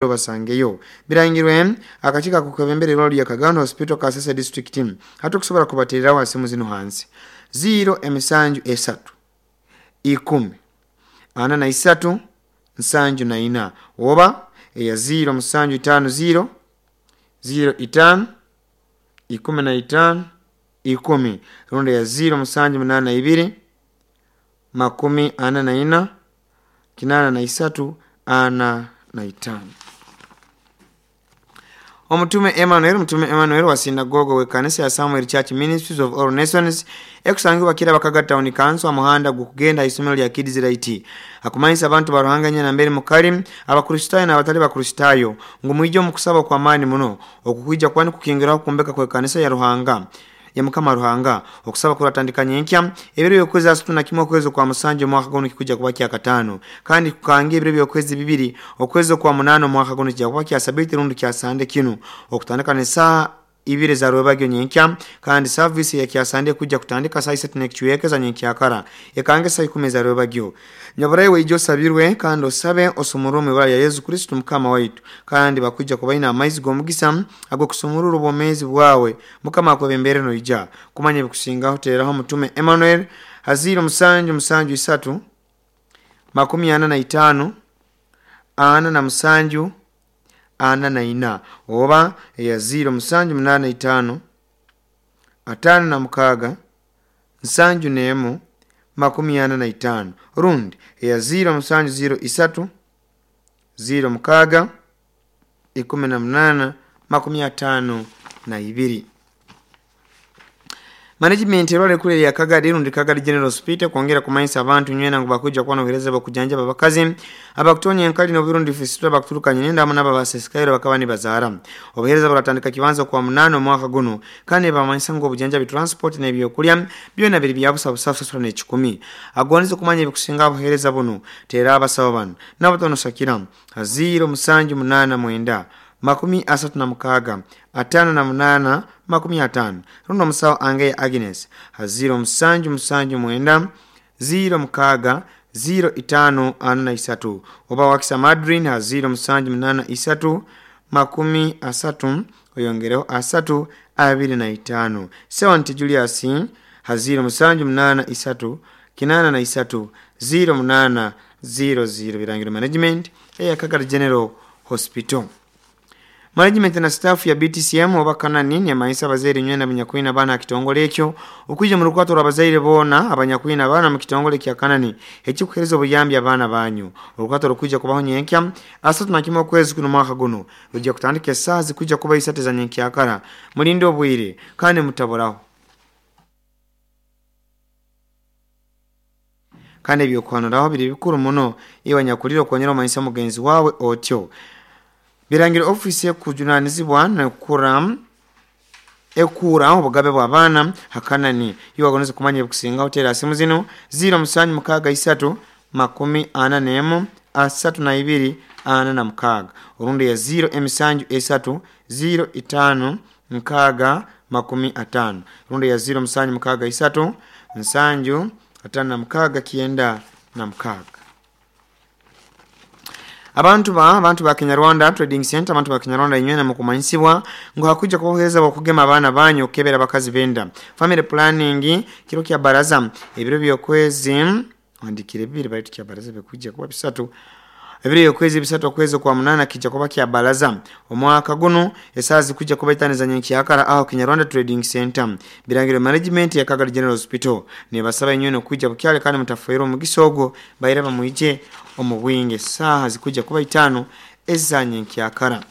Obasangeyo. Birangirwe akakiiko ak'okwebembera irwaro lya Kagando Hospital, Kasese District. Hati okusobora kubatereraho ha simu zinu hansi: 0 emisanju esatu 10 43 74, oba eya 0 7 5 0 0 5 15 10, rundi eya 0 7 8 2 44 83 45. Omutume Emmanuel, Omutume Emmanuel wa sinagogo w'ekanisa ya Samuel Church Ministries of All Nations, ekusangibwa Kiraba Kaga Town Council, amuhanda gukugenda isomero lya Kids Right, akumanyisa abantu ba Ruhanga nyena mbere mukali, Abakristaayo n'abatali Bakristaayo, ngu mwije omu kusaba kw'amaani muno okukwija kuba nikukingiraho kumbeka kw'ekanisa ya Ruhanga, ya Mukama Ruhanga. Okusaba kuratandika nyenkya ebiro by'okwezi 31 okwezi kwa 7 omwaka guno, kikujja kuba kyakataano, kandi kukanga ebiro by'okwezi 2 okwezi kwa 8 omwaka guno, kijja kuba kya Sabiti rundi kya Sande kinu, okutandika n'esaaha 2 za rwebagyo nyenkya, kandi saavisi ya kyasande kujja kutandika saa 3 n'ekicweka za nyenkyakara, ekange saa 10 za rwebagyo. Nyaburayi, weija osabirwe kandi osabe osumurwe omu ibara lya Yesu Kristo Mukama waitu, kandi bakwijja kubaina amaizi g'omugisa ag'okusumurura obwomeezi bwawe. Mukama akwebembere noija. Kumanya ebikusingaho, teeraho Omutume Emmanuel ha 0 7 7 3 45 47 44, oba eya 0 7 8 5 56 71 45, rundi eya 0 7 0 3 0 6 18 52. Management erwala ekulu erya Kagadi rundi Kagadi General Hospital kwongera kumanyisa abantu nywena ngu bakwija kuba n'obuheereza bw'okujanjaba abakazi abakutonya enkali n'oburundi fistula, bakuturukanye nenda, hamu n'abo abasesekaire bakaba nibazaara. Obuheereza buratandika kibanza kwa 8 omwaka guno, kandi nibamanyisa ngu obujanjabi, transport n'ebyokulya byona biri bya busa, busa kusasura n'ekikumi. Agondeze kumanya ebikusinga buheereza bunu, teera abasawo banu nabo sakira ha 0 7 8 9 36 58 50, rundi omusawo Angeya Agnes ha 0 7 7 9 0 6 0 5 43, oba Wakisa Madrin ha 0 7 8 3 30 oyongereho 3 25. Sewanti Julius ha 0 7 8 3 83 0 8 0 0. Birangiro Management eya Kagadi General Hospital. Management na staff ya BTCM oba Kanani nemanyisa abazaire nywena abanyakwina abaana aha kitongole ekyo okwija mu rukwato rw'abazaire boona abanyakwina abaana mu kitongole kya Kanani ekikuheereza obuyambi abaana banyu. Orukwato rukwija kubaho nyenkya 31 okwezi kuno mwaka guno, rujja kutandika esaaha zikwija kuba 3 za nyenkyakara. Mulinde obwire kandi mutaburaho, kandi ebyokuhanuraho biri bikuru muno. Iwe anyakulire okonyera omanyisa mugenzi wawe otyo. Birangiro ofiisi ekujunanizibwa nekura ekuura obugabe bw'abaana hakanani, iwe wagoneze kumanya ebikusingaho, teera simu zinu: 0 7 6 3 41 32 46, orundi ya 0 emisanju 3 0 5 6 50, rundi ya 0 7 6 3 7 56 96. Abantu ba Kinyarwanda Trading Center, abantu ba Kinyarwanda inywena mukumanyisibwa ngu hakuja kubohereza okugema abaana banyu, okukebera abakazi benda, family planning, kiro kya baraza ebiro by'okwezi, wandikire 2 baitu kya baraza bikuja kuba 3, ebiro by'okwezi 3 okwezi kwa 8, kijja kuba kya baraza omwaka guno, esaaha zikujja kuba 5 za nyenkyakara aho Kinyarwanda Trading Center. Birangiro Management ya Kagadi General Hospital nibasaba inywena okwijja bukyale kandi mutafuirwa omugisa ogwo. Baire bamwije omu bwingi, esaaha zikujja kuba 5 eza nyenkyakara.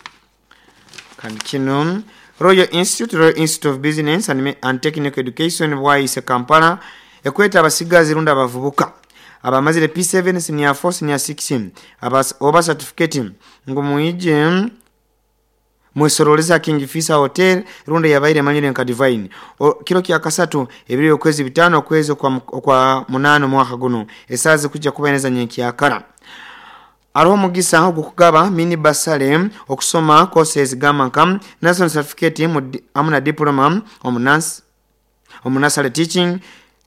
Kandi kino Royal Institute, Royal Institute of Business and Technical Education, Bwaise, Kampala, ekweta abasigazi rundi abavubuka abamazire P7, senior 4, senior 6 oba certificate, ngu mwije mwesoroleza King Fisa Hotel, rundi yabaire manyire nka Divine, kiro kya kasatu ebiro okwezi 5 okwezi kwa 8 omwaka guno, esaaha zikujja kuba neza nyenkyakara. Hariho omugisa ogw'okugaba mini bursary okusoma courses gamba nka national certificate hamu na diploma omu nursery teaching.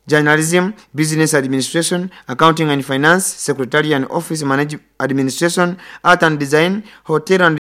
Journalism, Business Administration, Accounting and Finance, Secretarial and Office Administration, Art and Design, Hotel and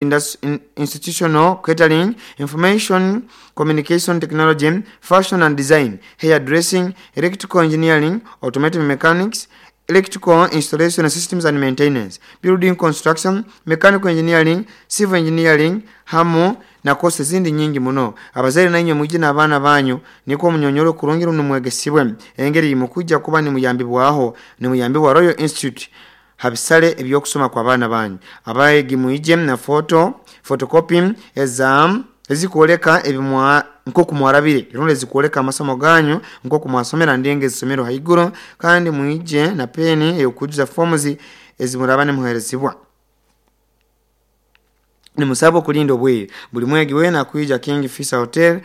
Institutional Catering, Information Communication Technology, Fashion and Design, Hairdressing, Electrical Engineering, Automotive Mechanics, Electrical Installation Systems and Maintenance, Building Construction, Mechanical Engineering, Civil Engineering, hamu na kosi ezindi nyingi muno. Abazaire nainywe mwije n'abaana banyu nikwo munyonyoro kurungi runo mwegesibwe engeri mukujja kuba nimuyambibwaho nimuyambibwa Royal Institute habisale ebyokusoma kwa baana banyu. Abayegi mwije na photocopy eza ezikwoleka ebimwa nkoku mwarabire rundi ezikwoleka amasomo ganyu nkoku mwasomera ndenge ezisomero haiguru, kandi mwije na peni eyokujuza forms ezimuraba nimuherezibwa. Nimusaba okulinda obwire buli mwegi wena kwija King Fisa Hotel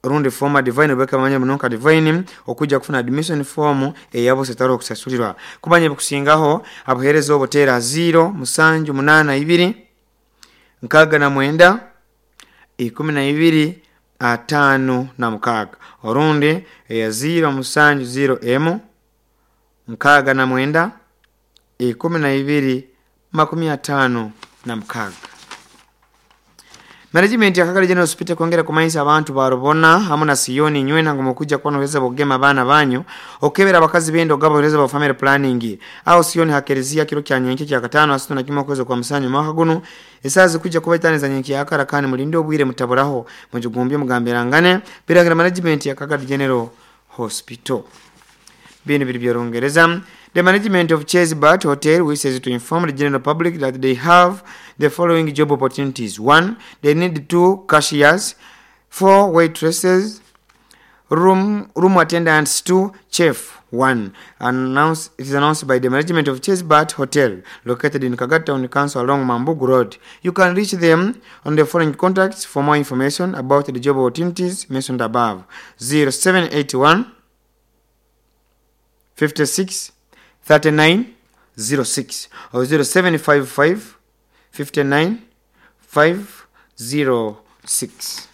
rundi former Divine obeka manya munonka Divine okujja kufuna admission form eyabo setaro okusasulirwa. Kumanya bikusingaho abuhereza obotera 0 7 8 2 69 12 56 orundi eya 0 7 0 M 69 12 56. Management ya Kagadi General Hospital kwongera kumanyisa abantu barubona hamu na Siyoni nywena ngo mukujja kuba n'obuheereza bw'okugema abaana banyu okukebera abakazi b'enda ogaba obuheereza bwa family planning aho Siyoni hakereziya kiro kya nyenke kya katano asatu na kimwe okwezi kwa musanju mwaka guno esaaha zikujja kuba itaano za nyenke yakara kandi mulinde obwire mutaburaho mujugumbye mugambirangane biragira management ya Kagadi General Hospital. Bino biri by'Orungereza. The management of Chase Bat Hotel wishes to inform the general public that they have the following job opportunities. 1. They need 2 cashiers, 4 waitresses, room attendants 2, chef 1. It is announced by the management of Chase Bat Hotel, located in Kagadi Town Council along Mambugu Road. You can reach them on the following contacts for more information about the job opportunities mentioned above. 0781 56 39 06 or 0755 59 506.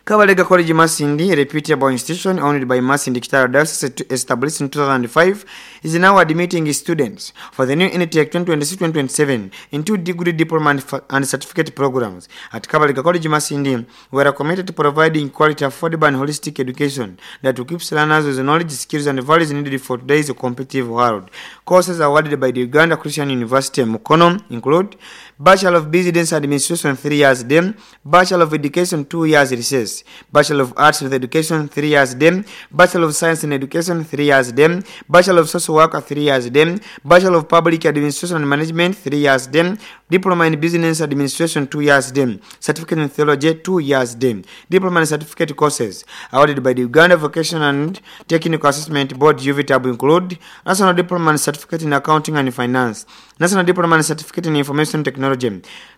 Kabalega College Masindi, a reputable institution owned by Masindi Kitara Diocese, established in 2005, is now admitting students for the new intake 2026-2027 in 2 degree diploma and certificate programs. At Kabalega College Masindi, we are committed to providing quality, affordable and holistic education that equips learners with the knowledge, skills and values needed for today's competitive world. Courses awarded by the Uganda Christian University Mukono include Bachelor of Business Administration 3 years DEM, Bachelor of Education 2 years recess, Bachelor of Arts with Education 3 years DEM, Bachelor of Science in Education 3 years DEM, Bachelor of Social Work 3 years DEM, Bachelor of Public Administration and Management 3 years DEM, Diploma in Business Administration 2 years DEM, Certificate in Theology 2 years DEM, Diploma and Certificate courses awarded by the Uganda Vocation and Technical Assessment Board UVTAB include National Diploma and Certificate in Accounting and Finance, National Diploma and Certificate in Information Technology,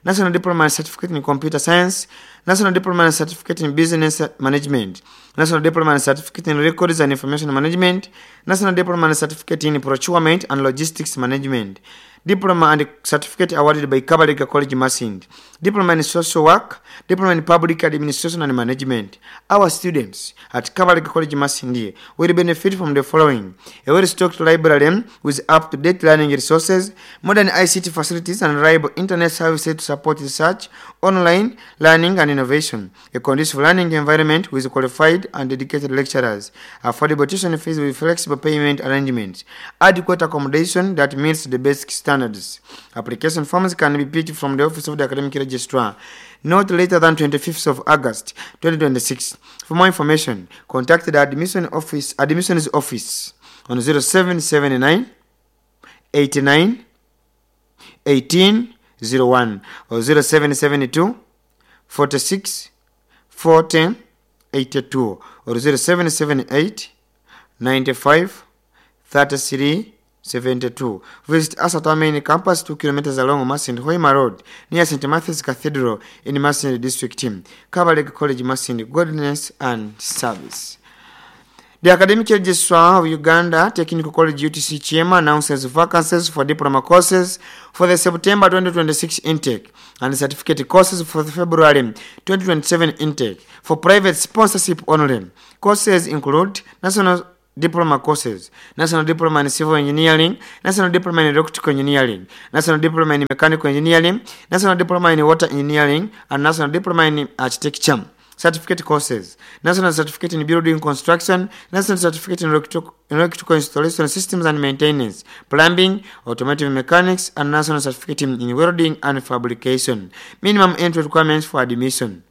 National Diploma and Certificate in Computer Science, National Diploma and Certificate in Business Management, National Diploma and Certificate in Records and Information Management, National Diploma and Certificate in Procurement and Logistics Management, Diploma and Certificate awarded by Kabalega College Masindi, Diploma in Social Work, Diploma in Public Administration and Management. Our students at Kabalega College Masindi will benefit from the following: a well-stocked library with up-to-date learning resources, modern ICT facilities and reliable internet services to support research, online learning and innovation, a conducive learning environment with qualified and dedicated lecturers, affordable tuition fees with flexible payment arrangements, adequate accommodation that meets the basic standards. Application forms can be picked from the Office of the Academic Registrar not later than 25th of August 2026. For more information, contact the admissions office on 0779 89 1801 or 0772 46 40 82 or 0778 95 33 72. Visit us at our main campus 2 kilometers along Masindi Hoima Road near St. Matthew's Cathedral in Masindi District. Kabalega College Masindi, godliness and service. The Academic Registrar of Uganda Technical College UTC Kyema announces vacancies for diploma courses for the September 2026 intake and certificate courses for the February 2027 intake for private sponsorship only. Courses include National Diploma courses, National Diploma in Civil Engineering, National Diploma in Electrical Engineering, National Diploma in Mechanical Engineering, National Diploma in Water Engineering, and National Diploma in Architecture. Certificate courses, National Certificate in Building Construction, National Certificate in Electrical Installation Systems and Maintenance, Plumbing, Automotive Mechanics, and National Certificate in Welding and Fabrication. Minimum entry requirements for admission.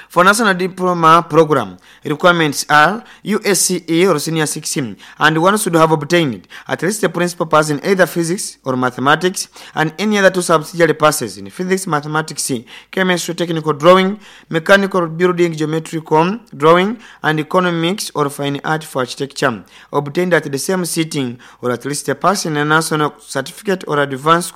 For National Diploma Program, requirements are USCE or Senior 6, and one should have obtained at least a principal pass in either physics or mathematics and any other two subsidiary passes in physics, mathematics, chemistry, technical drawing, mechanical building, geometrical drawing, and economics or fine art for architecture, obtained at the same sitting or at least a pass in a national certificate or advanced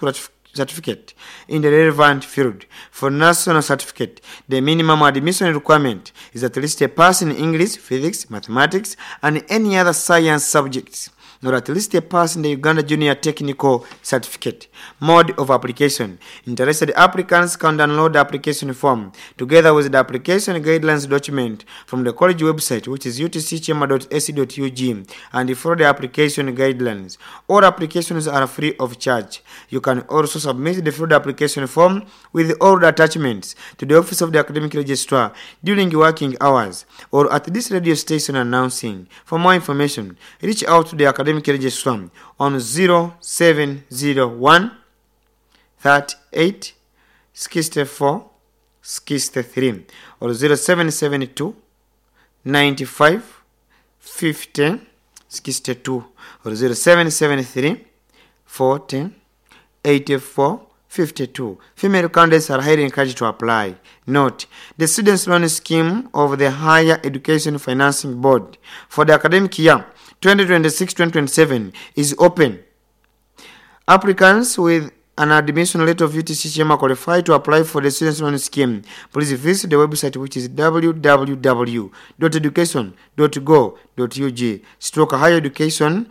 certificate in the relevant field. For national certificate, the minimum admission requirement is at least a pass in English, physics, mathematics, and any other science subjects, or at least a pass in the Uganda Junior Technical Certificate. Mode of application. Interested applicants can download the application form together with the application guidelines document from the college website, which is utckyema.ac.ug, and follow the application guidelines. All applications are free of charge. You can also submit the filled application form with all the attachments to the Office of the Academic Registrar during working hours or at this radio station announcing. For more information, reach out to the Academic Registrar on 0701 38 64 63 or 0772 95 50 62 or 0773 40 84 52. Female candidates are highly encouraged to apply. Note, the Students' Loan Scheme of the Higher Education Financing Board for the academic year 2026-2027 is open. Applicants with an admission letter of UTC Kyema qualify to apply for the Students' Loan Scheme. Please visit the website, which is www.education.go.ug / higher education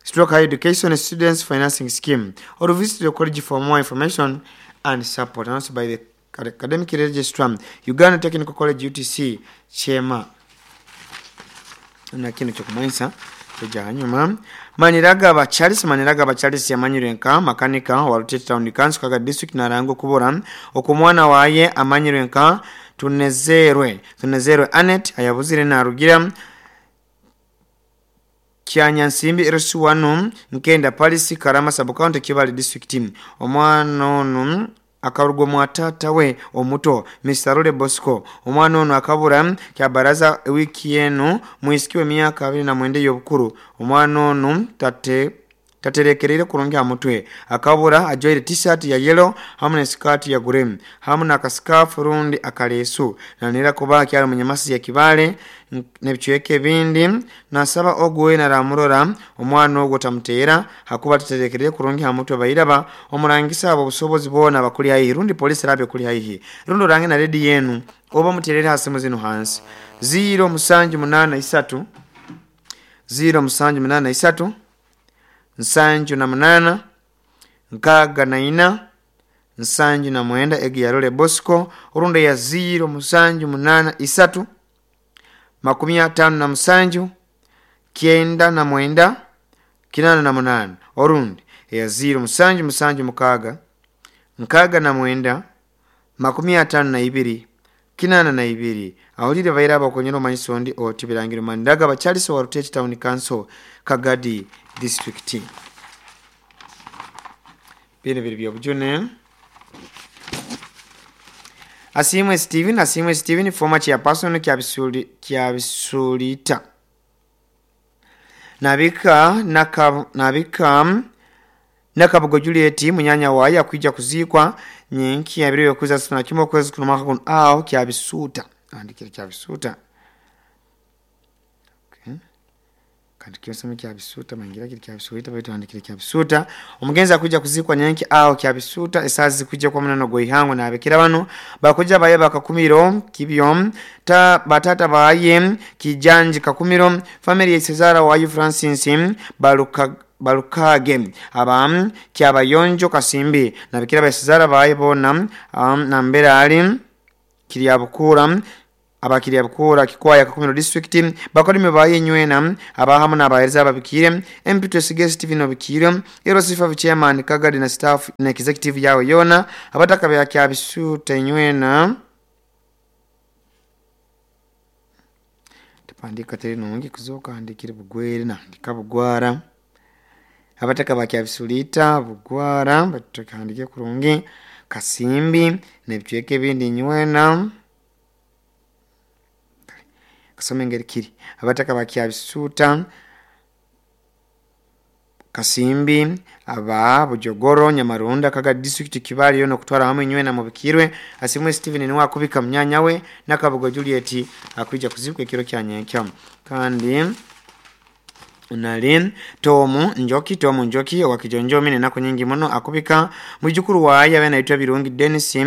/ higher education students financing scheme, or visit the college for more information and support. Announced by the Academic Registrar, Uganda Technical College UTC Kyema. Na kino kyokumanyisa kyeja hanyuma. Maniragaba Charles, Maniragaba Charles yamanyirwe nka makanika wa Rutete Town Council, Kaga District, narangwa kubura okumwana waye amanyirwe nka Tunezerwe Anet ayabuzire narugira Kyanyansimbi LC1 Nkenda Palisi, Karama Sub-County, Kibale District. Omwana ono akarugwa mwatata we omuto Mr. Role Bosco. Omwana ono akabura kyabaraza wiki eno mwisikiwe myaka 29 y'obukuru. Omwana ono taterekerere kurungi amutwe akabura ajoire t-shirt ya yellow hamwe na skirt ya green hamwe na kaskafu rundi akalesu nanira kuba kyali munyamasi ya Kibale nebichweke bindi. Nasaba ogwe na ramurora omwana ogwo tamutera hakuba taterekerere kurungi amutwe bayiraba omurangisa abo busobozi bona bakuli haihi rundi polisi rabe kuli haihi rundi orange na redi yenu oba muterere hasi muzino hansi 0 7 8 3 0 7 8 3 7 8 6 74 79 egi ya Role Bosco urunde ya 0 7 8 3 57 99 88 orundi ya 0 7 7 6 69 52 82. Awulire baira abakonyera omanyiso ondi oti birangiro Maniragaba Charles wa Rutete Town Council, Kagadi District. Bino biri byobujune. Asimwe Steven, Asimwe Steven, former chairperson Kyabisuulita. Nabika Nakabugo Juliet munyanya waye akwijja kuziikwa nyenki ya biro yokuza suna kimwe kwezi kuno mwaka kuno aho Kyabisuuta. Andikira Kyabisuuta. Okay. Kandi kyosome kya Bisuuta mangira kiri kya Bisuuta baitu handikire kya Bisuuta. Omugenzi akuja kuzikwa nyenki aho kya Bisuuta esazi zikujja kwa munano gweihangwe nabikira bano bakuja baye bakakumiro kibyo ta batata baye kijanji kakumiro family ya Cesara wayu Francis balukage aba kyabayonjo Kasimbi nabikira ba Cesara baye bona nambera ali Kiryabukura abakiriya bukura kikwaya Kakumiro district bakolime baye nywena abahamu n'abahereza babikire MP Twesige Stephen obikire Erosifa chairman Kagadi na staff na executive yawe yona abataka bya kya Bisuuta nywena tupandika teri nungi kuzoka andikire bugwere na ndika bugwara abataka ba kya Bisulita bugwara batukandike kurungi Kasimbi nebicweke ebindi nywena kasome ngeri kiri abataka ba kya Bisuuta Kasimbi aba Bujogoro Nyamarunda Kaga district Kibali yono kutwara hamwe nywena mubikirwe asimwe Steven niwe akubika mnyanya we nakabugo Juliet akuija kuzibwa ekiro kya nyenkya. Kandi unali Tomu Njoki wa Kijonjomi nenako nyingi muno akubika mwijukuru waye abe naitwa Birungi Dennis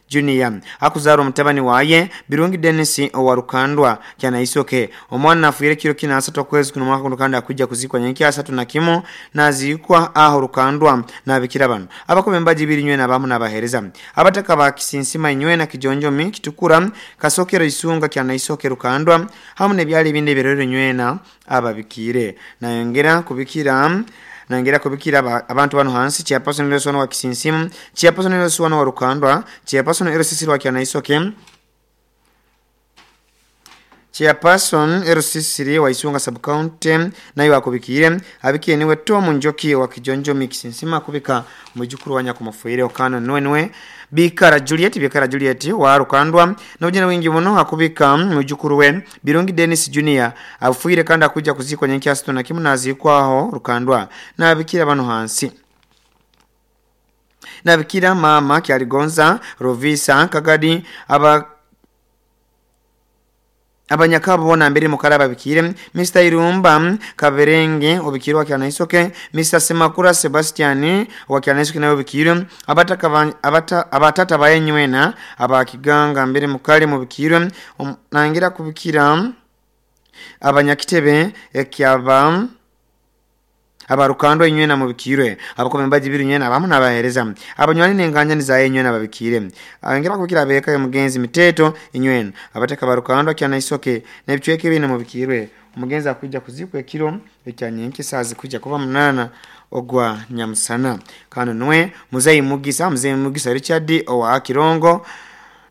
Junior akuzara omutabani waye Birungi Dennis owa Rukandwa kyanaisoke omwana afuire kiro kina asatu kwezi kuno mwaka kandi akuja kuzikwa nyenki asatu na kimo nazikwa aho Rukandwa nabikira bano abakobe mbaji biri nywena abamu nabahereza abataka ba Kisinsima nywena Kijonjomi Kitukura Kasokero Isunga kyanaisoke Rukandwa hamu nebyali bindi birero nywena ababikire nayongera kubikira abantu bano hansi chairperson Lesono wa Kisinsimu, chairperson Lesono wa Rukandwa, chairperson Erosisi wa Kyanaisoke, chairperson Erosisi wa Isunga sub county nayo akubikire abikiye niwe Tomu Njoki wa Kijonjomi Kisinsima kubika mujukuru wa nyakumafuire okano nwenwe Bikara Juliet wa Rukandwa n'obujena wingi muno akubika mujukuru we Birungi Dennis Junior afuire kandi akuja kuzikwa nyenki asito na kimu nazikwaho Rukandwa nabikira bano hansi nabikira mama Kyaligonza Rovisa Kagadi aba abanyakabo bona mbere mukaraba bikire Mr. Irumba Kaberenge obikirwa kyanaisoke Mr. Semakura Sebastian wa kyanaisoke nayo bikire abatata bayenywena abakiganga mbere mukale mu bikire nangira kubikira abanyakitebe ekyaba abarukandwa inywena mubikirwe abakome mbaji biri nywena abamu nabahereza abanywani nenganya nizaye inywena babikire abengera kubikira abeka yo mugenzi miteto inywena abateka barukandwa kyanaisoke nebicweke bine mubikirwe umugenzi akuja kuzikwa ekiro ekyanyenki sazi kuja kuba 8 ogwa nyamusana. Kano nwe muzei Mugisa Richard owa Kirongo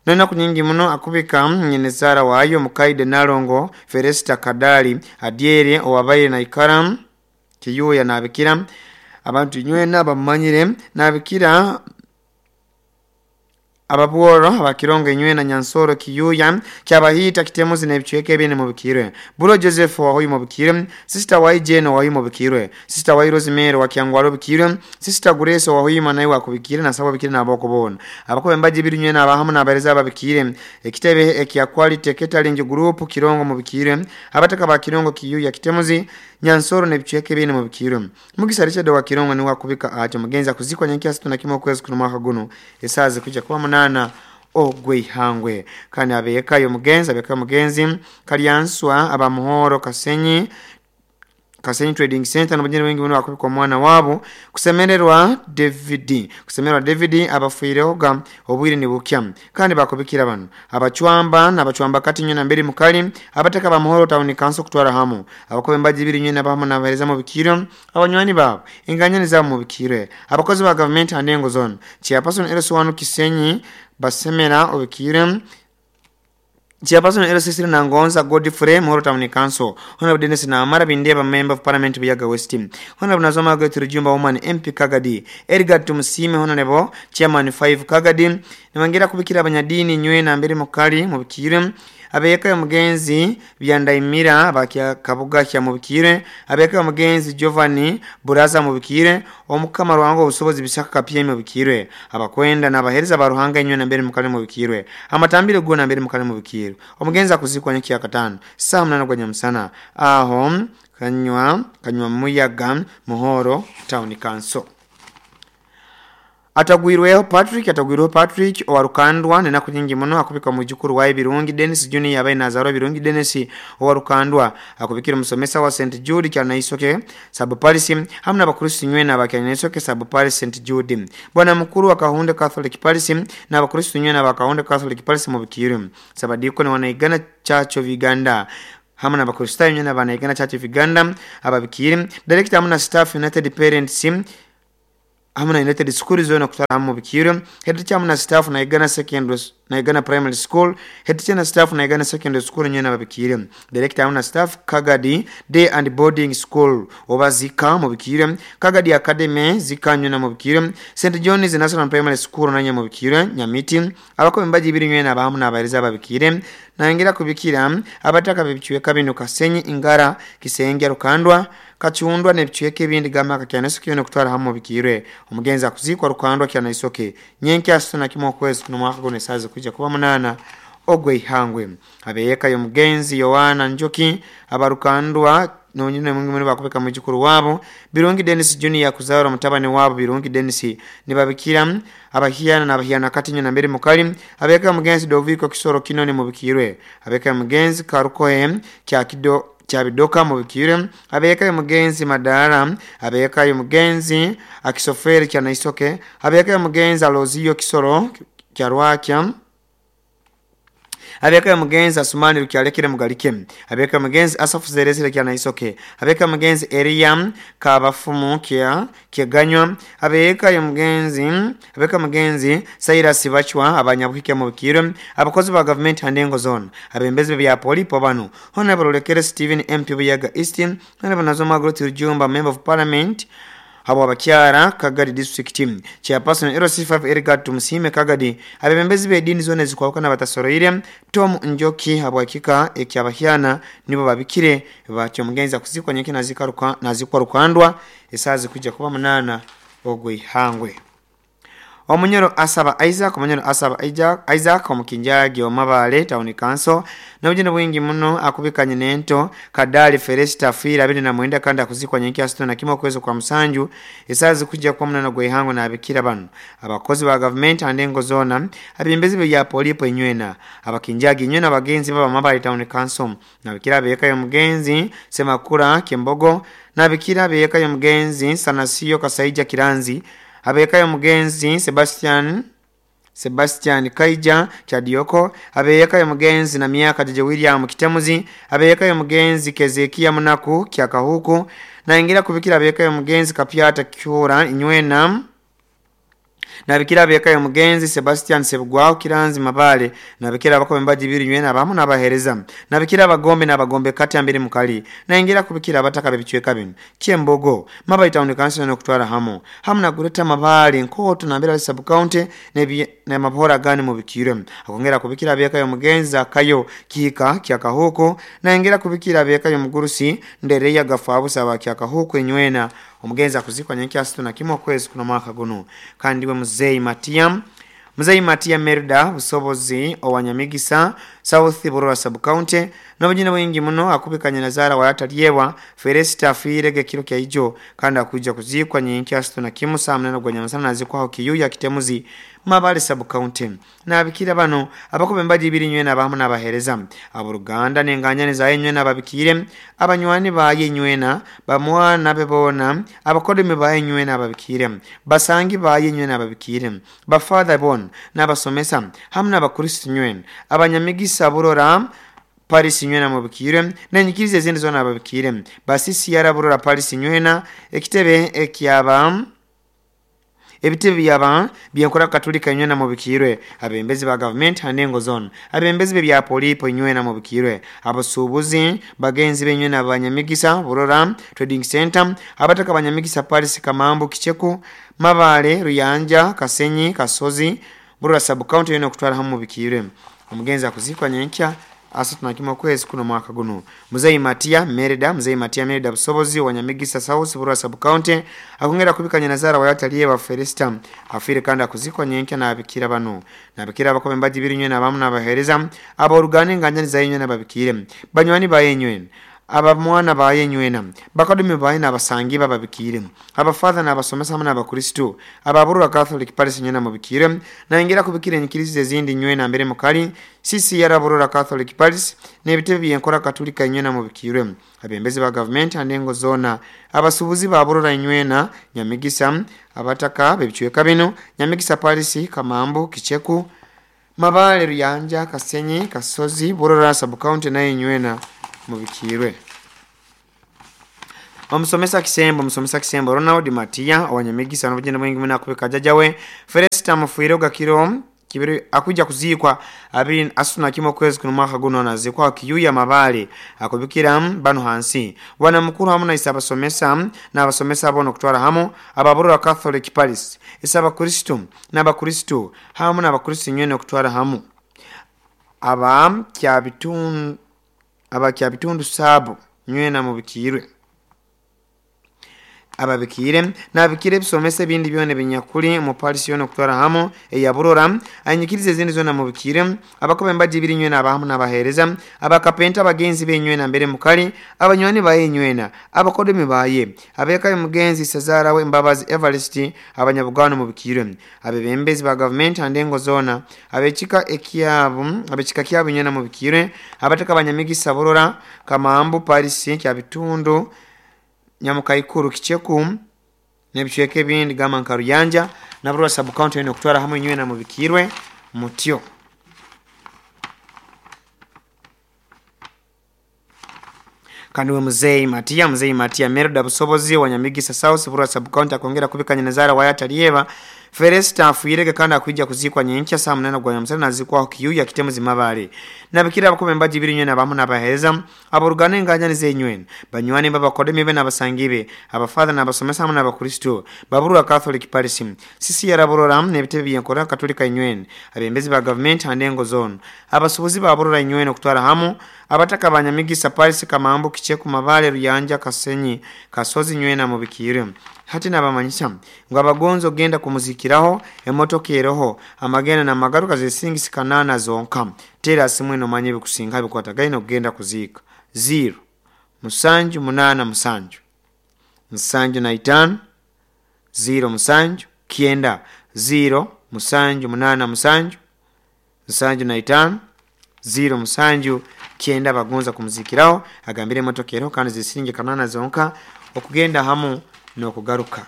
nena kunyingi muno akubika nyenezara wayo Mukaide Nalongo Feresta Kadali Adiere owabaire na Ikaram Kiyuya nabikira abantu nywena bamanyire nabikira ababworo abakirongo nywena Nyansoro Kiyuya kyabahita kitemuzi nebicweke bine mubikirwe Bulo Joseph wa hoyu mubikirwe Sister wa Jeno wa hoyu mubikirwe Sister wa Rosemary wa Kyangwaro bikirwe Sister Grace wa hoyu manayi wa kubikire na sabo bikire naboko bona abakobe mbaji biri nywena abahamu nabareza ababikire ekitebe ekya quality catering group Kirongo mubikirwe abataka ba Kirongo Kiyuya kitemuzi Nyansoro nebicweke bine mubikirwe Mugisa Richard wa Kirongo ni wakubika acho mugenzi akuzikwa nyenki asito na kimo kwezi kuno mwaka guno esazi kuja kuba 8 ogweihangwe. Kandi abeka yo mugenzi abeka mugenzi Kalyanswa abamuhoro Kasenyi Trading Center n'abanyene wengi muno akubikwa mwana wabo kusemererwa David abafuirehoga obwire ni bukya kandi bakubikira bano abachwamba n'abachwamba kati nyona mbere mukali abataka bamuhoro town council kutwara hamu abakobe mbaji biri nyona bahamu nabahereza mu bikiro abanywani babo inganyani zabo mu bikiro abakozi ba government anengo zone chairperson LS1 Kisenyi basemera obikiro Chairperson LCC Nangonza Godfrey Muhoro Town Council Honorable Dennis Namara Bindeba Member of Parliament Buyaga West Honorable Nazoma Gertrude Jumba Woman MP Kagadi Edgar Tumusime Honorable Chairman 5 Kagadi niwangira kubikira abanyadini nywena mbere mukali mubikire Abeka omugenzi Byandaimira abakya Kabuga kya mubikire. Abeka omugenzi Giovanni Buraza mubikire. Omukama Ruhanga obusobozi bisaka kapye mubikire. Abakwenda n'abahereza ba Ruhanga inywe nambere mukale mubikirwe. Amatambiro go nambere mukale mubikirwe. Omugenzi akuzikwa nyaki katano saa 8 gwa nyamusana aho kanywa muyaga Muhoro Town Council. Atagwirweho Patrick owarukandwa nenaku nyingi muno akubika mujukuru wa Birungi Dennis Junior abaye nazaro Birungi Dennis owarukandwa akubikira musomesa wa St Jude Kyanaisoke sub parish hamwe n'abakristo nywena abakyanaisoke sub parish St Jude. Bwana mukuru wa Kahunde Catholic Parish n'abakristo nywena abakahunde Catholic Parish mu Bukiri. Sabadiko wanaigana Church of Uganda hamwe n'abakristo nywena abanaigana Church of Uganda ababikiri. Director hamwe na staff United Parents hamwe na United School zone kutara mu Bukiri. Head teacher hamwe na staff na Igana Secondary na Igana Primary School. Head teacher na staff na Igana Secondary School nyene ababikire. Director hamwe na staff Kagadi Day and Boarding School oba zika mu Bukiri. Kagadi Academy zika nyene mu Bukiri. St John's National Primary School nanye mu Bukiri Nyamiti. Abako mbaji ibiri nyene abahamu n'abareza ababikire. Naingira kubikira abataka bibicweka bino Kasenyi Ingara Kisenge Rukandwa Kachundwa nebicweka ebindi gama Kyanaisoke no kutwara hamwe bikirwe. Omugenzi akuzikwa Rukandwa Kyanaisoke nyenke asuna kimwe kwezi kuno mwaka gone saze kuja kuba 8 ogwe ihangwe. Abeyeka yo mugenzi Yohana Njoki abarukandwa nonyine mungi muri bakubeka mujukuru wabo Birungi Dennis Junior kuzara mutabane wabo Birungi Dennis nibabikira abahiana n'abahiana katinyo na mbere mukali. Abeka mugenzi Doviko Kisoro Kinoni mubikirwe. Abeka mugenzi Karukoe kya kido Chabidoka mubikire. Abeka mugenzi Madara. Abeka mugenzi Akisoferi Kyanaisoke. Abeka mugenzi Alozio Kisoro Kyarwakya. Abeka mugenzi Asumani Rukyalekere Mugalike. Abeka mugenzi Asafu Zerezere Kyanaisoke. Abeka mugenzi Eriam Kabafumu kya Kyeganywa. Abeka mugenzi Cyrus Bachwa abanyabuhike mu Bukire. Abakozi ba government handengo zone. Abembezi bya polipo bano. Honorable Lekere Stephen MP Buyaga East. Honorable Nazoma Groti Rujumba Member of Parliament abo abakyara Kagadi District Team. Chairperson LC5 Edgar Tumusime Kagadi. Abembezi b'edini zone zikwawukana batasoroire. Tom Njoki abo hakika ekyabahyana nibo babikire batyo mugenzi kuzikwa nyeke nazikaruka nazikwa Rukandwa esazi kuja kuba 8 ogwe ihangwe. Omunyoro asaba Isaac omukinjagi omabale Town Council n'obugendo bwingi muno akubikanye nento Kadali Felista Fira 29 kandi akuzikwa nyenki asitona kimwe kwezo kwa musanju esazi kuja kwa 8 gwe ihango na abikira bano. Abakozi ba government andengo zona abimbezi bya polipo inywena abakinjagi inywena abagenzi baba Mabale Town Council nabikira beka yo mugenzi Semakura Kembogo nabikira beka yo mugenzi Sanasiyo Kasaija Kiranzi. Abeka mugenzi Sebastian Kaija Chadioko. Abeka mugenzi na miaka Jeje William Kitemuzi. Abeka mugenzi Kezekia Munaku Kyakahuku. Naingira kubikira abeka mugenzi Kapyata Kyura inywena. Nabikira abeka mugenzi Sebastian Sebugwao Kiranzi Mabale. Nabikira abako mbaji biri nywena abamu n'abahereza. Nabikira abagombe n'abagombe kati ambiri mukali. Naingira kubikira abataka bebicweka bino Kyembogo Mabale Town Council no kutwara hamo hamu na gureta Mabale nkoto na mbera sub county ne mabora gani mubikire. Akongera kubikira abeka mugenzi Akayo Kika Kyakahoko. Naingira kubikira abeka mugurusi Ndereya Gafabu saba Kyakahoko inywena. Omugenzi akuzikwa nyenki asituna kimwe kwezi kuno mwaka guno. Kandi we Mzee Matia Merda busobozi owanyamigisa South Burora Sub County n'obugendo bwingi muno akubikanye nazara wa atalyewa Felista Firege kiro kya ijo kandi akuja kuzikwa nyenki asituna kimwe saa 8 gwa nyamusana nazikwaho Kiyuya Kitemuzi Mabale Sub County. Nabikira bano abakobe mbaji ibiri nywena abahamu n'abahereza aboruganda n'enganyane za nywena ababikire abanywani baye nywena bamwana bebona abakodemi baye nywena ababikire basangi baye nywena ababikire bafather bon n'abasomesa hamwe n'abakristo nywena abanyamigisa Burora Paris nywena mubikire nenyikirize zindi zona ababikire basisi yaraburora Paris nywena ekitebe ekyaba ebitebe byaba byankora Katolika nywena mubikirwe abembezi ba government hanengo zone abembezi bya polipo nywena mubikirwe abasubuzi bagenzi benywena abanyamigisa Burora Trading Center abataka abanyamigisa Paris Kamambu Kicheku Mabale Ruyanja Kasenyi Kasozi Burora Sub County yeno kutwara hamwe mubikirwe. Omugenzi akuzikwa nyenkya 31 okwezi kuno mwaka guno. Muzei Matia Merida, Muzei Matia Merida Busobozi wa Nyamigisa South, Burwa Sub County, akongera kubikanya nazara wayataliye wa Felista afire kandi akuzikwa nyenkya n'abikira bano nabikira abakobe mbaji birinywe n'abamu n'abahereza aborugane nganya zayinywe n'ababikire banywani bayenywe abamwana bayenywena bakadumi baye n'abasangi bababikire abafather n'abasomesa hamwe n'abakristo ababurura Catholic Parish nywena mubikire naingira kubikire enyikirizo ezindi nywena mbere mukali sisi yaraburura Catholic Parish n'ebitebe byenkora Katolika nywena mubikire abembezi ba government andengo zona abasubuzi baburura nywena Nyamigisa abataka bebicweka bino Nyamigisa Parish, Kamambo, Kicheku, Mabale, Ruyanja, Kasenyi, Kasozi, Burura Sub County naye nywena mubikirwe. Omusomesa Kisembo, Omusomesa Kisembo Ronald Matia Wanyamigisa n'obugenda bwingi muna kubika jjajjawe Felista Mufuire Gakiro kibiri akuja kuzikwa 21 kwezi kuno mwaka guno nazikwa Kiyuya Mabale akubikira bano hansi wana mukuru hamu na isabasomesa n'abasomesa bono kutwara hamu ababurura Catholic Parish isabakristo n'abakristo hamu n'abakristo nywene kutwara hamu aba kya bitundu sabo nywena mubikirwe ababikire nabikire ebisomesa ebindi byona binyakuli mu Paris yono kutwara hamu eyaburora anyikirize ezindi zona mubikire abakobe mbaji biri nywena abahamu n'abahereza abakapenta abagenzi benywena mbere mukali abanywani baye nywena abakodemi baye abeka mugenzi Sazara we Mbabazi Everest abanyabugano mubikire abebembezi ba government andengo zona abechika ekiyabu abechika kiyabu nywena mubikire abataka abanyamigisa Burora, Kamambo, Paris kya bitundu Nyamukaikuru, Kicheku n'ebicweka ebindi gamba nka Ruyanja na Burora Sub County eno kutwara hamwe nywena mubikirwe mutyo. Kandi we Muzei Matia, Muzei Matia Merida Busobozi wa Nyamigisa South, Burora Sub County akongera kubikanya nazara wayatalieva Felista afuirege kandi akuija kuzikwa nyenkya saa 8 gwa nyamusana nazikwa Kiyuya Kitemuzi Mabale nabikira abakobe mbaji biri nywena abamu n'abahereza aborugane nganya nizenywena banywani babakodemi be n'abasangibe abafather n'abasomesa hamwe n'abakristo baburura Catholic Parish sisi yaraburora n'ebitebe byenkora Katolika nywena abembezi ba government andengo zone abasubuzi baburura nywena kutwara hamu abataka abanyamigisa Parish, Kamambo, Kicheku, Mabale, Ruyanja, Kasenyi, Kasozi nywena mubikire. Hati nabamanyisa ngo abagonzo genda kumuzikiraho emotoka eroho amagenda n'amagaruka zisingisi kanana zonka tera simwe no manye bikusinga bikwatagaine okugenda kuziika 0 7 8 7 7 5 0 7 9 0 7 8 7 7 5 0 7 9 bagonza kumuzikiraho agambire emotoka eroho kandi zisinge kanana zonka okugenda hamu n'okugaruka.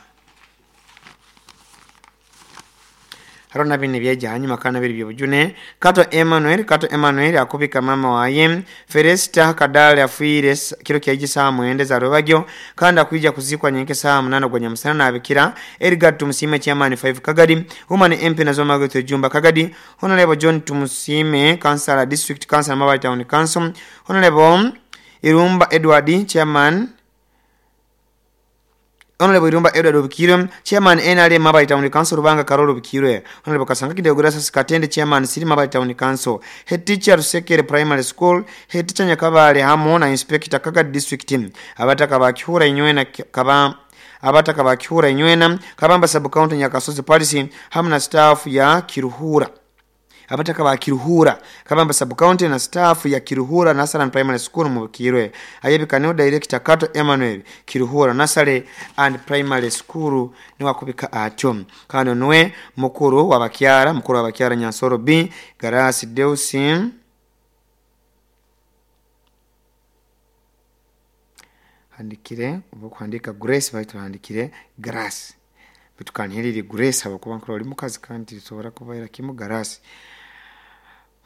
Haro na bine byeja hanyuma kana biri byobujune Kato Emmanuel, Kato Emmanuel akubika mama waye Felista Kadale afuire kiro kya saa 9 za rubagyo kandi akuija kuzikwa nyenke saa 8 gwa nyamusana nabikira Edgar Tumusime chairman 5 Kagadi Woman MP nazoma gwetu Jumba Kagadi Honorable John Tumusime Councilor District Council Mabale Town Council Honorable Irumba Edward chairman Honorable Irumba Edward Obikirwe, Chairman NRM Mabale Town Council Rubanga Karolo Obikirwe, Honorable Kasanga Kideogurasa Katende Chairman Siri Mabale Town Council, Head Teacher Rusekere Primary School, Head Teacher Nyakabale hamu na Inspector Kagadi District, abataka bakihura inywena kaba abataka bakihura inywena Kabamba Sub County Nyakasozi Parish hamu na staff ya Kiruhura. Abataka ba Kiruhura Kabamba Sub County na staff ya Kiruhura Nursery Primary School mubikirwe ayebika Director Kato Emmanuel Kiruhura Nursery and Primary School ni wakubika atyo kandi nwe mukuru wabakyara mukuru wabakyara Nyansoro B Garasi Deusi handikire ubukwandika Grace baitu handikire Grace bitukanirire Grace abakuba nkoro oli mukazi kandi lisobora kubaira kimu Garasi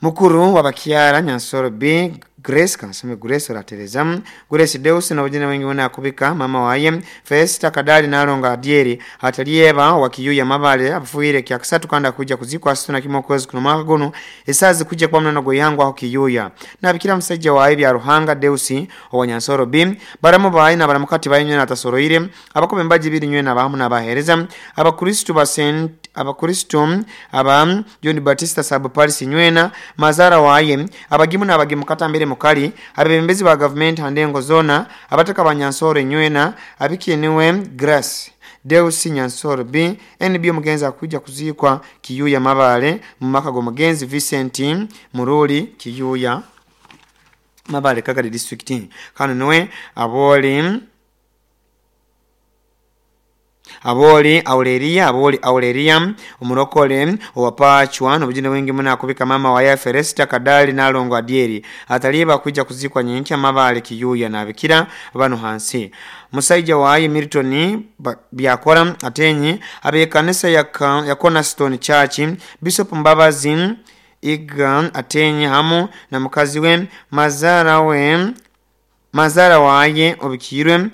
mukuru wabakyara Nyansoro B Grace kansome Grace oratereza Grace Deus na wajina wengi wana akubika mama waye Festa Kadali nalonga Adieri atalieba wakiyuya Mabale afuire kya kusatu kanda kuja kuzikwa asituna kimokozi kuno mwaka guno esazi kuja kwa mnano goyangu aho Kiyuya nabikira musajja waye bya Ruhanga Deus owa Nyansoro B baramu bayi na baramukati bayi nywe na tasoroire abakobe mbaji biri nywe na bahamu na bahereza abakristo ba Saint Abakristo aba John Batista Sub Parish nywena mazara waye abagimu n'abagimu katambere mukali abebembezi ba gavumenti handengo zona abataka banyansoro nywena abikiniwe Grace Deus Nyansoro B NB omugenzi akuja kuzikwa Kiyuya Mabale mu maka g'omugenzi Vincent Muruli Kiyuya Mabale Kagadi district. Kano niwe aboli Aurelia omurokole owapachwa n'obujine bwingi muno akubika mama wa Feresta Kadali nalongo Adieri ataliba kuja kuzikwa nyenkya Mabale Kiyuya nabikira bano hansi. Musaija waye Milton Byakora atenyi abekanisa ya Cornerstone Church Bishop Mbabazi Iga atenyi hamu na mukazi we mazara waye obikirwe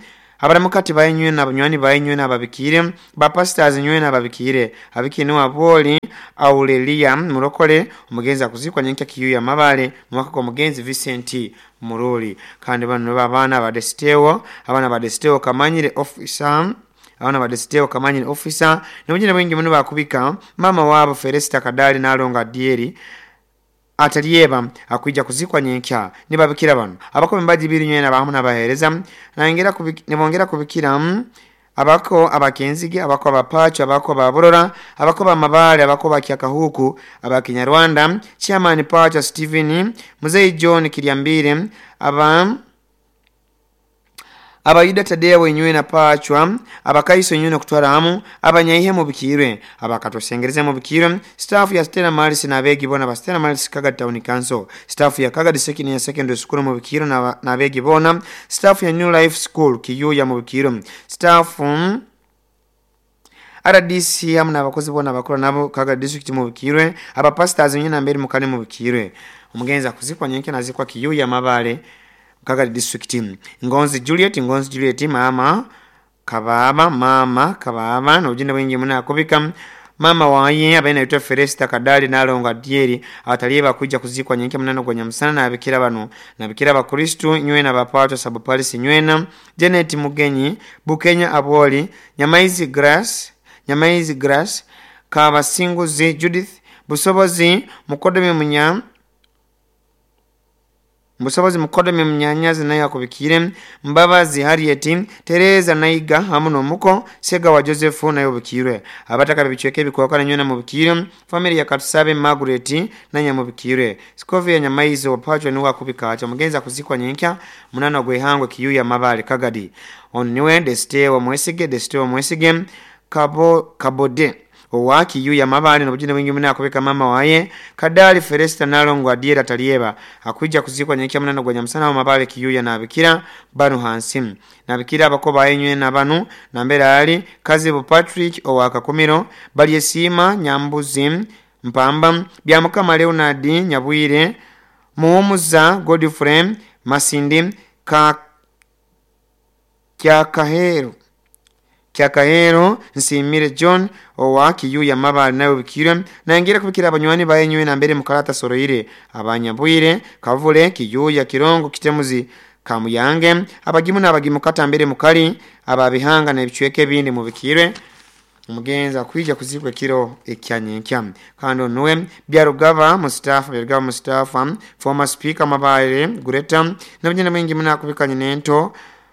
abaramukati bayinywe n'abanywani bayinywe n'ababikire ba pastors nywe n'ababikire abikini waboli Aurelia murokole omugenzi akuzikwa nyenkya Kiyuya Mabale mwaka kwa mugenzi Vincent Muruli. Kandi bano babana ba Desteo abana ba Desteo Kamanyire officer abana ba Desteo Kamanyire officer n'obujine bwingi muno bakubika mama wabo Feresta Kadali nalonga Dieri atalieba akuija kuzikwa nyenkya nibabikira bano abako mbaji biri nywena bahamu nabahereza nangera nibongera kubikira abako abakenzige abako abapacho abako ababorora abako bamabale abako bakyakahuku abakinyarwanda chairman Pacho Steven Muzei John Kiryambire aba abayuda Tadeo wenywe na Pachwa abakaiso nywena kutwara hamu abanyaihe mu bikirwe abakatosengereza mu bikirwe staff ya Stella Maris na abegi bona ba Stella Maris Kagadi Town Council staff ya Kagadi Secondary Secondary School mu bikirwe na abegi bona staff ya New Life School Kiyuya mu bikirwe staff RDC hamu n'abakozi bona bakora nabo Kagadi District mu bikirwe aba pastors nywena mbere mukane mu bikirwe omugenzi akuzikwa nyenke nazikwa Kiyuya Mabale Kagadi District. Ngonzi Juliet mama kababa n'obujine bwingi muno akubika mama waye abaina yitwa Feresta Kadali nalonga Dieri ataliba kuja kuzikwa nyenke munano gwa nyamusana nabikira bano nabikira abakristo nywena bapato Sub Parish nywena Janet Mugenyi Bukenya Aboli Nyamaizi Grace Kabasinguzi Judith Busobozi Mukodome Munya Musobozi Mukodome Munyanyazi naye akubikire Mbabazi Harriet Tereza Naiga hamu n'omuko Sega wa Joseph naye obikirwe abataka bichweke bikwakana nywena mu bikire family ya Katusabe Margaret nanya mu bikire Skovia Nyamaizi wapachwa niwe akubika acha mugenzi akuzikwa nyenkya munano gwehangwe Kiyuya Mabale Kagadi oniwe Desteo Mwesige Kabode owa Kiyuya Mabale n'obujine bwingi muno akubika mama waye Kadali Feresta nalongo Adiera talieba akuija kuzikwa nyenkya munano gwa nyamusana wa Mabale Kiyuya nabikira banu hansi nabikira abakoba ayenywe nabanu nambere ali Kazibu Patrick owa Kakumiro Balyesima Nyambuzi Mpamba Byamukama Leonard Nyabwire Muhumuza Godfrey Masindi Kyakahero Nsimire John owa Kiyuya Mabale nawe bikirwe nangira kubikira abanywani bayenywe na mbere mukalata soroire abanyabwire Kavule Kiyuya Kirongo Kitemuzi Kamuyange abagimu n'abagimu kata mbere mukali ababihanga n'ebichweke bindi mu bikirwe omugenzi akuija kuzikwa kiro ekyanyenkya. Kandi onuwe Byarugaba Mustafa former speaker Mabale Greta n'obujine bwingi muno akubikanye n'ento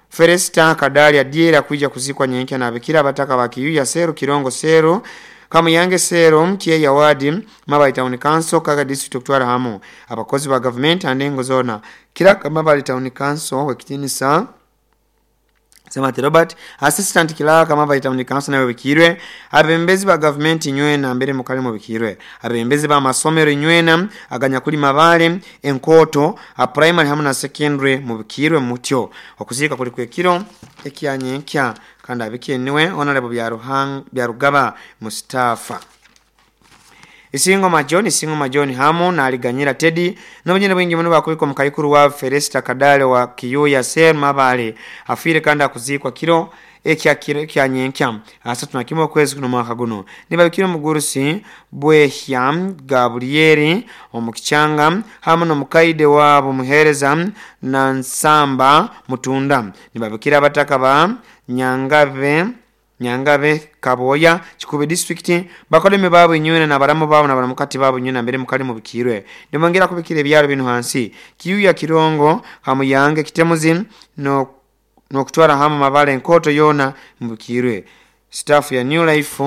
Feresta Kadali Adiera kuija kuzikwa nyenkya nabikira abataka ba Kiyuya Seru Kirongo Seru Kamuyange Seru Kyeya Wadi Mabale Town Council Kagadi District kutwara hamu abakozi ba government andengo zona kiraka Mabale Town Council wekitinisa Semati Robert assistant kilaka Mabale Town Council nawe bikirwe abembezi ba government nywena mbere mukali mu bikirwe abembezi ba masomero nywena aganya kuli Mabale enkoto a primary hamu na secondary mu bikirwe mutyo okuzika kuli kwekiro ekyanyenkya kandi abikeniwe honorable Byarugaba Mustafa. Isingo Majoni hamu na aliganyira Teddy n'obujine bwingi muno bakubika mukayikuru wa Feresta Kadale wa Kiyuya Ser Mabale afire kandi akuzikwa kiro ekyanyenkya asatu na kimwe kwezi kuno mwaka guno nibabikira mugurusi Bwehya Gabrieli omukichanga hamu n'omukaide wabo muhereza na Nsamba Mutunda nibabikira abataka ba Nyangabe Nyangabe Kaboya Kikubi district bakoleme babo inywena nabaramu babo nabaramukati babo inywena mbere mukali mubikirwe nimongera kubikira ebyaro bino hansi Kiyuya Kirongo Hamuyange Kitemuzi no nokutwara hamu Mabale Nkoto yona mubikirwe. Staff ya New Life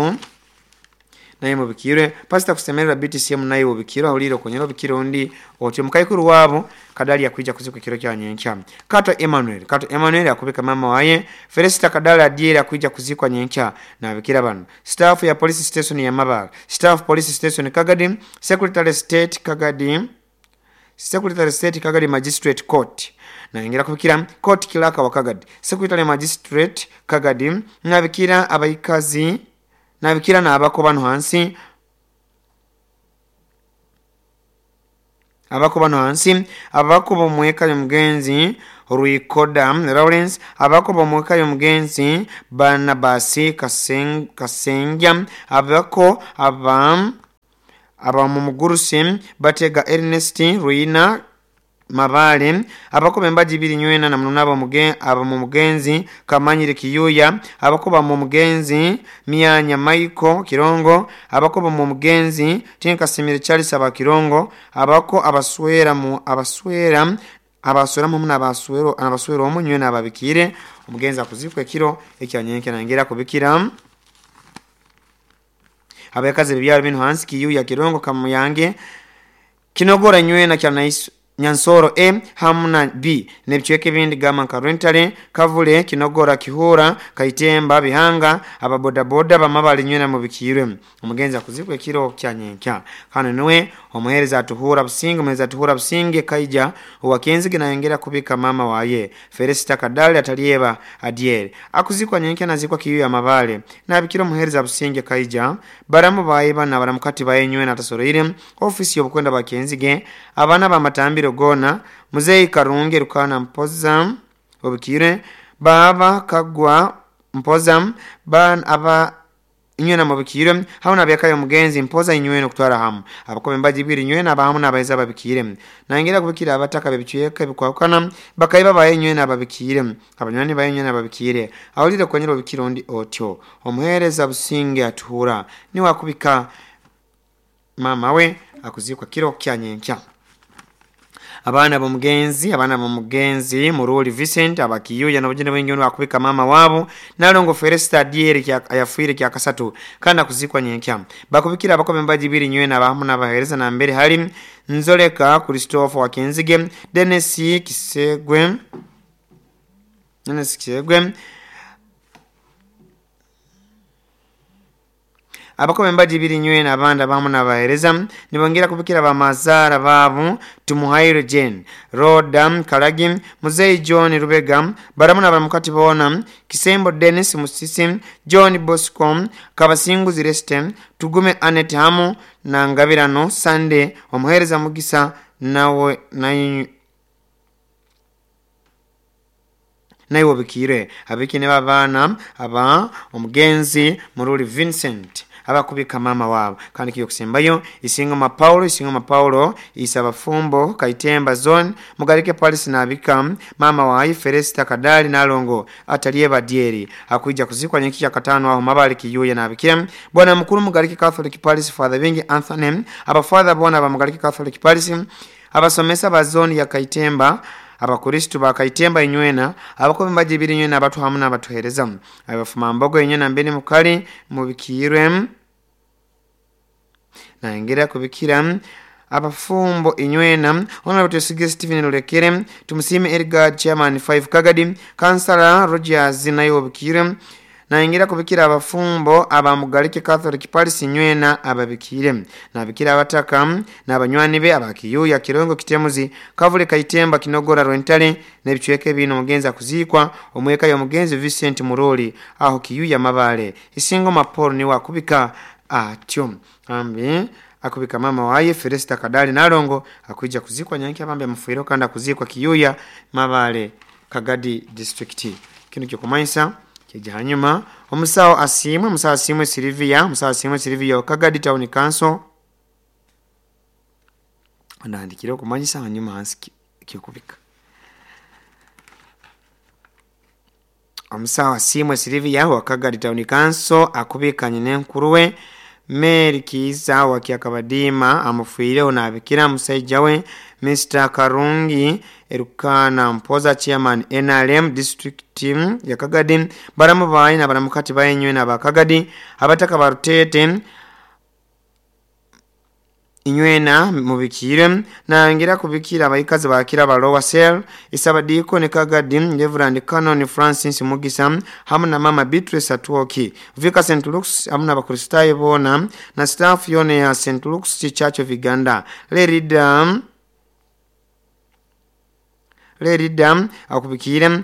naye mubikirwe. Pastor kusemerera BTCM naye mubikirwe ahulire okonyera obikire undi otyo mukaikuru wabo Kadali yakuija kuzikwa kiro kya nyenkya. Kato Emmanuel akubika mama waye Felista Kadali adiera akuija kuzikwa nyenkya na bikira bano. Staff ya police station ya Mabale, staff police station Kagadi, Secretary State Kagadi, Secretary State Kagadi Magistrate Court na ingira kubikira court clerk wa Kagadi, Secretary Magistrate Kagadi nabikira abaikazi nabikira na abako bano hansi abako bano hansi abako bomweka y'omugenzi Ruikoda Lawrence, abako bomweka y'omugenzi Barnabasi Kasengya, abako aba mumugurusi Batega Ernest Ruina Mabale, abako bembaji biri nywena na mununabo aba mumugenzi Kamanyire Kiyuya, abako ba mumugenzi Mianya Maiko Kirongo, abako ba mumugenzi Tinkasimire Charles aba Kirongo, abako abaswera mu abaswera abaswera mu na abaswero abaswero omunywena ababikire omugenzi akuzikwe kiro ekyanyenke nangera kubikira abakazi bibyaro bino hansi Kiyuya Kirongo Kamuyange Kinogora nywena kya naisu Nyansoro A hamuna B nebichweke bindi gama nka Kavule Kinogora Kihura Kaitemba Bihanga ababoda boda bamabali nywena mubikirwe omugenzi akuzikwe kiro kya nyenkya. Kano niwe omuhereza atuhura Businge, omuhereza atuhura Businge kaija uwakenzige nayongera kubika mama waye Felista Kadali atalieba adiere akuzikwa nyenkya nazikwa Kiyuya Mabale nabikira omuhereza Businge kaija baramu baye bana baramukati baye nywena atasoroire ofisi yobukwenda bakenzige abana bamatambiro gona Muzei Karunge Rukana Mpoza obikire baba Kagwa Mpoza ban aba inywena mubikire hauna byakayo mugenzi Mpoza inywena kutwara hamu abakobe mbaji biri inywena abahamu nabaeza babikire nangera kubikira abataka bebicweka bikwakana bakaiba baye inywena ababikire abanywani baye inywena ababikire awulire kwenyero bikire ondi otyo omuhereza Businge atuhura ni wakubika mama we akuzikwa kiro kya nyenkya. Abana bomugenzi Muruli Vincent abakiyuya nabujene wengi ono akubika mama wabo nalongo Felista Dieri kya ayafuire kya kasatu kana kuzikwa nyenkya. Bakubikira abakobe mbaji biri nywena abahamu nabahereza na mbere hali Nzoleka Christopher Wakenzige Dennis Kisegwe abakobe mbaji biri nywena abanda abahamu nabahereza nibongera kubikira bamazara babu Tumuhaire Jane Roda Kalagi Muzei John Rubega baramu na baramukati bona Kisembo Dennis Musisi John Bosco Kabasingu Zireste Tugume Anet Hamu na Ngabirano Sunday omuhereza Mugisa nawe nayo bikire abikine babana aba omugenzi Muruli Vincent abakubika mama wabo kandi kiyo kusembayo Isingoma Paulo isaba fumbo Kaitemba zone Mugarike Paris nabika mama wa Felista Kadali nalongo atalieba dieri akuija kuzikwa nyenkya katano aho Mabale Kiyuya nabikira bwana mukuru Mugarike Catholic Paris Father Wingi Anthony abafather bona ba Mugarike Catholic Paris abasomesa ba zone ya Kaitemba abakristu ba Kaitemba inywena abakobe mbaji biri inywena abatu hamuna abatuhereza abafuma mbogo inywena mbeni mukali mubikirwe na ingira kubikira abafumbo inywena honorable Tusige Stephen Lulekere tumusime Edgar Chairman 5 Kagadi Councilor Rogers nayo bikire na ingira kubikira abafumbo abamugalike Catholic Parish inywena ababikire na bikira abataka na abanywani be abakiyuya Kirongo Kitemuzi Kavule Kaitemba Kinogora Rwentale nebichweke bino mugenzi akuzikwa omweka ya mugenzi Vincent Muroli aho Kiyuya Mabale Isingoma Paul ni wakubika atyo ambi akubika mama waye Felista Kadali nalongo akuija kuzikwa nyanki abambe mfuiro kanda kuzikwa Kiyuya Mabale Kagadi district. Kino kyokumansa kija hanyuma omusawo asimwe Silvia Kagadi Town Council andandikire okumanyisa hanyuma hansi kyokubika. Omusawo Asiimwe Silivia wa Kagadi Town Council akubikanye n'enkuru we Mary Kiiza wa Kyakabadiima amufiireho naabikira musaija we Mr. Karungi Erukana Mpoza, chairman NRM district ya Kagadi, baramu bayi na baramukati bayinywe na bakagadi abataka barutete inywena mubikire nangira kubikira abaikazi bakira balowa cell isabadiko ni Kagadi Reverend Canon Francis Mugisa hamu na mama Beatrice Atwoki Vika St. Luke's hamu na bakristayo bona na staff yone ya St. Luke's Church of Uganda Lerida akubikire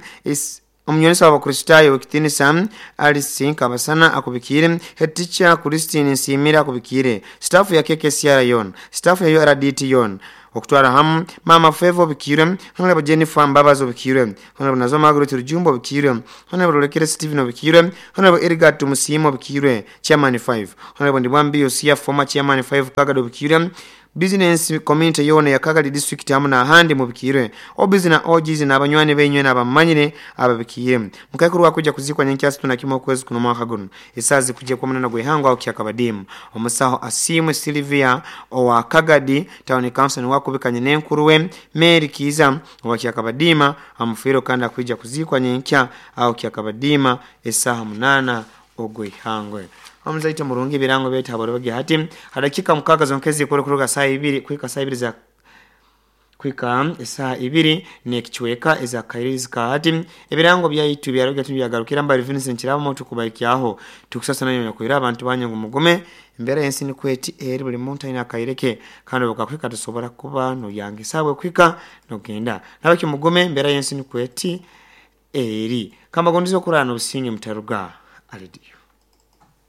omunyonesa w'abakristayo w'ekitinisa Alice Kabasana akubikire, head teacher Christine Nsimira akubikire, staff ya KKCR yon, staff ya URDT yon okutwara hamu mama Fevo obikire, Honorable Jennifer Mbabazi obikire, Honorable Nazo Margaret Rujumbo obikire, Honorable Lekere Stephen obikire, Honorable Edgar Tumusiime obikire, chairman 5, Honorable Ndibwambi Yosia former chairman 5 Kagadi obikire, business community yona ya Kagadi district hamu na ahandi mubikire, obizi na ojizi na abanywani benywe n'abamanyire ababikire. Mukaikuru wakuja kuzikwa nyenkyasi tunakima okwezi kuno mwaka guno esazi kujja kwa munana gwehangwa aho Kyakabadimu. Omusaho Asiimwe Silvia owa Kagadi Town Council wakubikanye n'enkuru we Mary Kiiza owa Kyakabadiima amufiire kandi akuija kuzikwa nyenkya aho Kyakabadiima esaha 8 ogwehangwe. Omuzaito murungi birango byetu haboroge hati hadakika 6 zonkezi kuruka saa 2 kuika saa 2 za kuika saa 2 nekichweka eza kairizi ka hati ebirango byaitu byaroge tubyagarukira mbali Vincent Kirabo tukubaikyaho tukusasa nayo yakwira abantu banyangu mugume embera yensi ni kweti eri buli muntu aina kaireke kandi bukakwika tusobora kuba no yangisabwe kwika no genda nabaki mugume embera yensi ni kweti eri kamba gondizo kurana obusinge mutaruga alidiyo.